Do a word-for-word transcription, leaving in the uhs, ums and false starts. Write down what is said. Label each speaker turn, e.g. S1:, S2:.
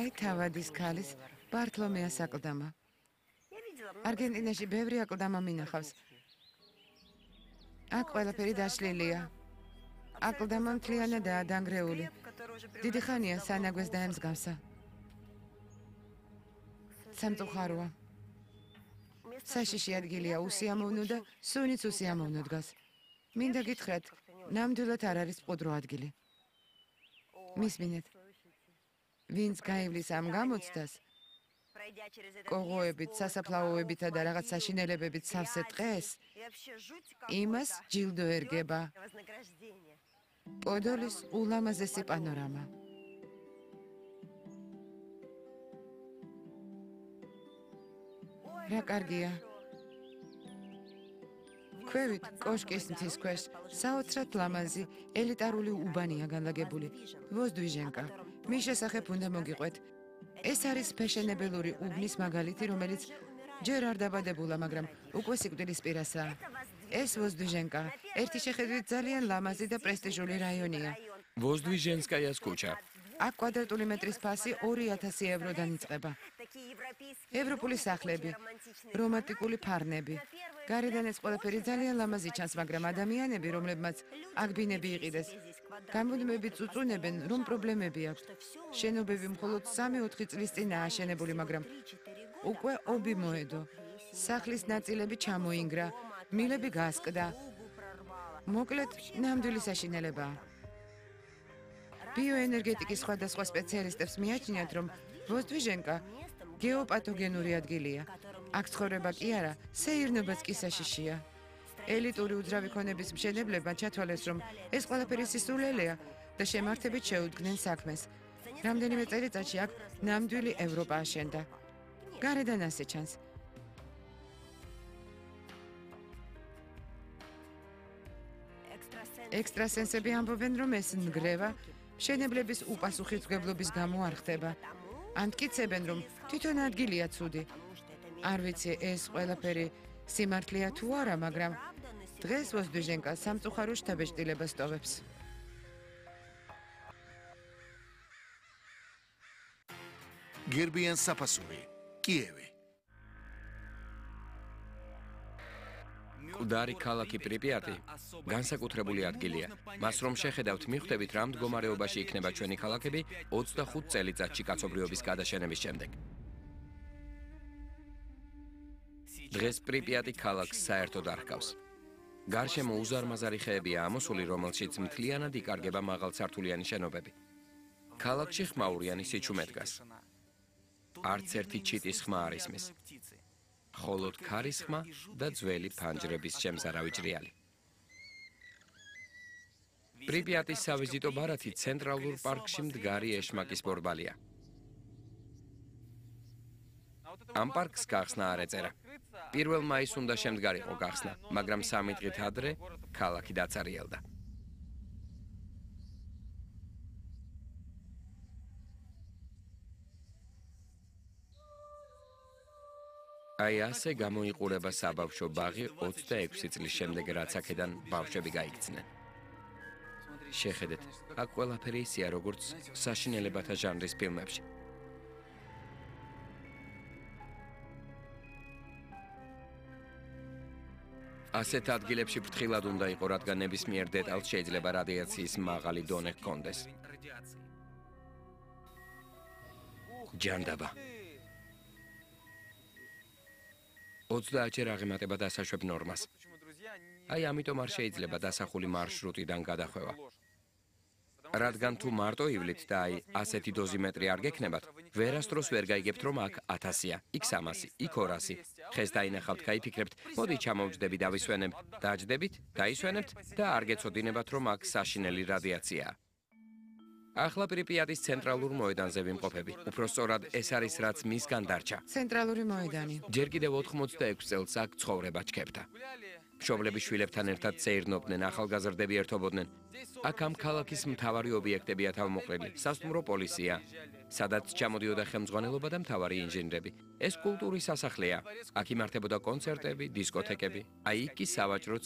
S1: აი თავადის ქალის ბართლომეას აკლდამა. არგენტინაში ბევრი აკლდამა მინახავს. აქ ყველაფერი დაშლილია. აკლდამა მთლიანადაა დანგრეული. დიდი ხანია სანაგვეს დაემსგავსა. სამწუხაროა. საშიში ადგილია უსიამოვნო და სუნიც უსიამოვნო დგას. მინდა გითხრათ, ნამდვილად არ არის მყუდრო ადგილი. მისმინეთ, ვინც გაივლის ამ გამოცდას, კოღოებით, სასაფლაოებითა და რაღაც საშინელებებით სავსე ტყეს, იმას ჯილდო ერგება. პოდოლის ულამაზესი პანორამა. რა კარგია. ქვევით კოშკის მთის ქვეშ საოცრად ლამაზი ელიტარული უბანია განლაგებული. ვოზდვიჟენკა. მის შესახებ უნდა მოგიყვეთ. ეს არის ფეშენებელური უბნის მაგალითი, რომელიც ჯერ არ დაბადებულა, მაგრამ უკვე სიკვდილის პირასაა. ეს ვოზდვიჟენკა ერთი შეხედვით ძალიან ლამაზი და პრესტიჟული რაიონია.
S2: ვოზდვიჟენსკაიას ქუჩა.
S1: აქ კვადრატული მეტრის ფასი ორი ათასი ევროდან იწყება. ევროპული სახლები, რომანტიკული ფარნები. გარედან ეს ყველაფერი ძალიან ლამაზი ჩანს, მაგრამ ადამიანები, რომლებმაც აქ ბინები იყიდეს, გამუდმებით წუწუნებენ, რომ პრობლემები აქვს. შენობები მხოლოდ სამი-ოთხი წლის წინაა აშენებული, მაგრამ უკვე ობი მოედო. სახლის ნაწილები ჩამოინგრა, მილები გასკდა. მოკლედ, ნამდვილი საშინელებაა. ბიოენერგეტიკის სხვადასხვა სპეციალისტებს მიაჩნიათ, რომ ვოზდვიჟენკა გეოპათოგენური ადგილია. აქ ცხოვრება კი არა, სეირნობაც კი საშიშია. ელიტური უძრავი ქონების მშენებლებმა ჩათვალეს, რომ ეს ყველაფერი სისულელეა და შემართებით შეუდგნენ საქმეს. რამდენიმე წელიწადში აქ ნამდვილი ევროპა აშენდა. გარედან ასე ჩანს. ექსტრასენსები ამბობენ, რომ ეს ნგრევა მშენებლების უპასუხისმგებლობის გამო არ ხდება. ამტკიცებენ, რომ თვითონ ადგილია ცუდი. არ ვიცი, ეს ყველაფერი სიმართლეა თუ არა, მაგრამ დღეს ვოზდვიჟენკა სამწუხარო შთაბეჭდილებას ტოვებს.
S3: გერბიან საფასური, კიევი.
S2: მკვდარი ქალაქი პრიპიატი განსაკუთრებული ადგილია. მას რომ შეხედავთ, მიხვდებით, რა მდგომარეობაში იქნება ჩვენი ქალაქები ოცდახუთ წელიწადში კაცობრიობის გადაშენების შემდეგ. დღეს პრიპიატი ქალაქს საერთოდ არ ჰგავს. გარშემო უზარმაზარი ხეებია ამოსული, რომელშიც მთლიანად იკარგება მაღალსართულიანი შენობები. ქალაქში ხმაურიანი სიჩუმე დგას. არც ერთი ჩიტის ხმა არ ისმის. მხოლოდ ქარის ხმა და ძველი ფანჯრების შემზარავი ჭრიალი. პრიპიატის სავიზიტო ბარათი ცენტრალურ პარკში მდგარი ეშმაკის ბორბალია. ამ პარკს გახსნა არ ეწერა. პირველ მაისს უნდა შემდგარიყო გახსნა, მაგრამ სამი დღით ადრე ქალაქი დაწერიელდა. აი ასე გამოიყურება საბავშვო ბაღი ოცდაექვსი წლის შემდეგ, რაც აქედან ბავშვები გაიქცნენ. შეხედეთ, აქ ყველაფერი ისეა, როგორც საშინელებათა ჟანრის ფილმებში. ასეთ ადგილებში ფრთხილად უნდა იყო, რადგან ნებისმიერ დეტალს შეიძლება რადიაციის მაღალი დონე ჰქონდეს. ჯანდაბა. ოცდაათჯერ აღემატება დასაშვებ ნორმას. აი ამიტომ არ შეიძლება დასახული მარშრუტიდან გადახვევა. რადგან თუ მარტო ივლით და აი ასეთი დოზიმეტრი არ გექნებათ, ვერასდროს ვერ გაიგებთ, რომ აქ ათასია, იქ სამასი, იქ ორასი. ხეს დაინახავთ, გაიფიქრებთ, მოდი ჩამოვჯდები დავისვენებ, დაჯდებით, დაისვენებთ და არ გეცოდინებათ, რომ აქ საშინელი რადიაციაა. ახლა პრიპიატის ცენტრალურ მოედანზე ვიმყოფები. უფრო სწორად, ეს არის რაც მისგან დარჩა.
S1: ცენტრალური მოედანი.
S2: ჯერ კიდევ ოთხმოცდაექვსი წელს აქ ცხოვრება ჩქეფდა. მშობლები შვილებთან ერთად წეირნობდნენ, ახალგაზრდები ერთობოდნენ. აქ ამ ქალაქის მთავარი ობიექტებია თავმოყრილი, სასტუმრო პოლიცია, სადაც ჩამოდიოდა ხელმძღვანელობა და მთავარი ინჟინრები. ეს კულტურის სასახლეა. აქ იმართებოდა კონცერტები, დისკოთეკები. აი იქ კი სავაჭრო